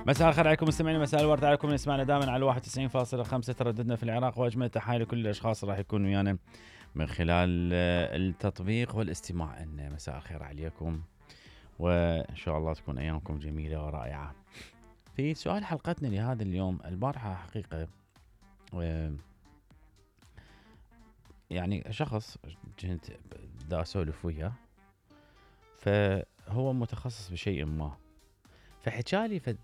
مساء الخير عليكم مستمعين، مساء الورد عليكم. نسمعنا دائما على 91.5 ترددنا في العراق، واجمل تحايا لكل الاشخاص راح يكونوا ويانا من خلال التطبيق والاستماع لنا. مساء الخير عليكم، وان شاء الله تكون ايامكم جميله ورائعه. في سؤال حلقتنا لهذا اليوم، البارحه حقيقه يعني شخص كنت دا اسولف وياه، فهو متخصص بشيء ما، فحكالي فد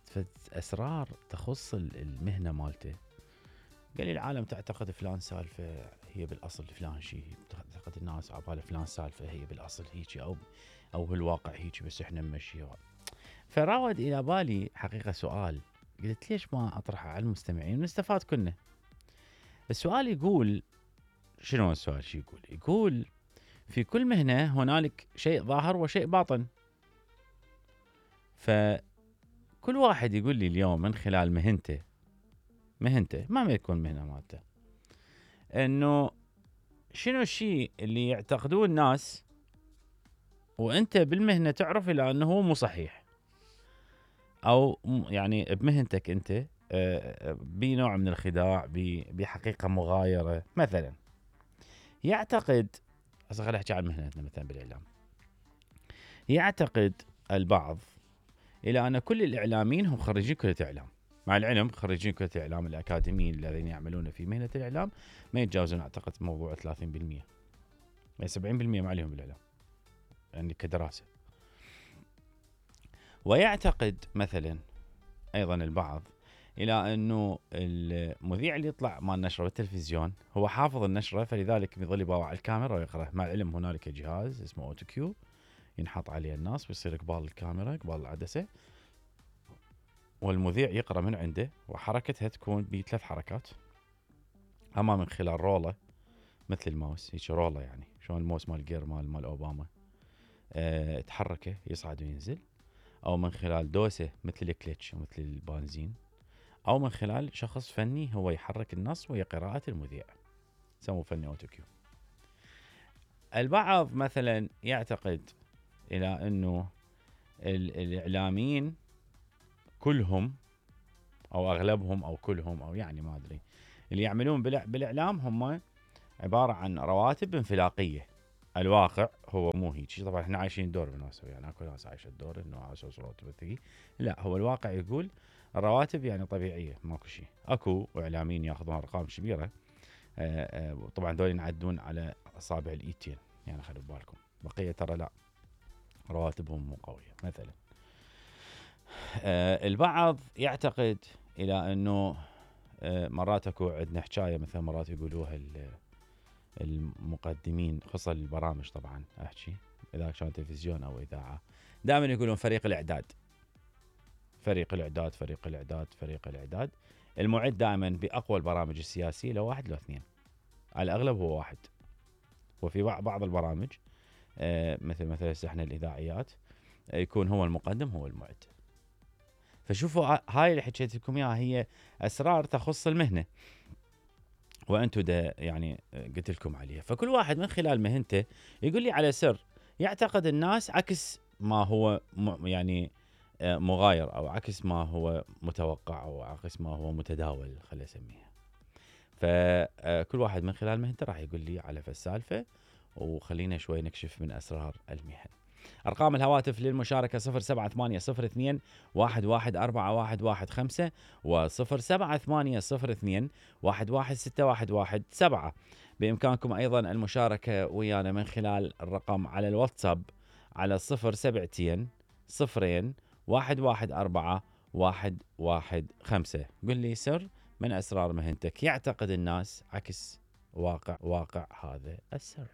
اسرار تخص المهنه مالته. قال لي العالم تعتقد فلان سالفه هي بالاصل فلان شيء، تعتقد الناس عباله فلان سالفه هي بالاصل هيك او بالواقع هيك، بس احنا نمشيها. فراود الى بالي حقيقه سؤال، قلت ليش ما اطرحه على المستمعين ونستفاد كلنا. السؤال يقول، شنو السؤال؟ شو يقول؟ يقول في كل مهنه هنالك شيء ظاهر وشيء باطن، فكل واحد يقول لي اليوم من خلال مهنته ما يكون مهنه مالته، انه شنو الشيء اللي يعتقدوه الناس وانت بالمهنه تعرف الى انه هو مو صحيح، او يعني بمهنتك انت بنوع من الخداع، بحقيقه مغايره. مثلا يعتقد، هسه خليني احكي عن مهنتنا مثلا بالاعلام، يعتقد البعض الى ان كل الاعلاميين هم خريجين كليه اعلام، مع العلم خريجين كليه الاعلام الاكاديميين الذين يعملون في مهنه الاعلام ما يتجاوزون اعتقد موضوع 30%، يعني 70% ما عليهم بالاعلام يعني كدراسه. ويعتقد مثلا ايضا البعض الى انه المذيع اللي يطلع مال نشره بالتلفزيون هو حافظ النشره، فلذلك يظل يباوع على الكاميرا ويقرا. مع العلم هنالك جهاز اسمه اوتو كيو ينحط عليه الناس ويصير قبال الكاميرا قبال العدسه، والمذيع يقرا من عنده، وحركتها تكون بثلاث حركات، اما من خلال رولة مثل الماوس، هيك رولة يعني شلون الماوس مال جير مال اوباما، تحركه يصعد وينزل، او من خلال دوسه مثل الكلتش ومثل البنزين، او من خلال شخص فني هو يحرك النص وهي قراءة المذيع، يسموه فني اوتو كيو. البعض مثلا يعتقد الى انه الاعلاميين كلهم او اغلبهم او كلهم او يعني ما ادري اللي يعملون بالاعلام هم عباره عن رواتب انفلاقيه. الواقع هو مو هيك، طبعا احنا عايشين دور بالناس، يعني اكو ناس عايشه الدور انه على اساس رواتب ثقيل، لا هو الواقع يقول الرواتب يعني طبيعيه ماكو شيء. اكو اعلاميين ياخذون ارقام كبيره، طبعا دول ينعدون على اصابع الايدين، يعني خلوا بالكم، بقيه ترى لا رواتبهم مو قويه مثلا. البعض يعتقد الى انه مرات اكو عندنا حكايه مثلا مرات يقولوها المقدمين خصوصا البرامج، طبعا احكي اذا كان تلفزيون او اذاعه، دائما يقولون فريق الاعداد فريق الاعداد فريق الاعداد فريق الاعداد. المعد دائما باقوى البرامج السياسيه لو واحد لو اثنين، على الاغلب هو واحد، وفي بعض البرامج مثل احنا الاذاعيات يكون هو المقدم هو المعد. فشوفوا هاي اللي حكيت لكم اياها هي اسرار تخص المهنه، وانتم يعني قلت لكم عليها. فكل واحد من خلال مهنته يقول لي على سر يعتقد الناس عكس ما هو يعني مغاير، او عكس ما هو متوقع، او عكس ما هو متداول خلينا نسميها. فكل واحد من خلال مهنته راح يقول لي على السالفه، وخلينا شوي نكشف من اسرار المهن. أرقام الهواتف للمشاركة 07802 114115 و 07802 116117. بإمكانكم أيضا المشاركة ويانا من خلال الرقم على الواتساب على 072 0 114 115. قل لي سر من أسرار مهنتك يعتقد الناس عكس واقع هذا السر.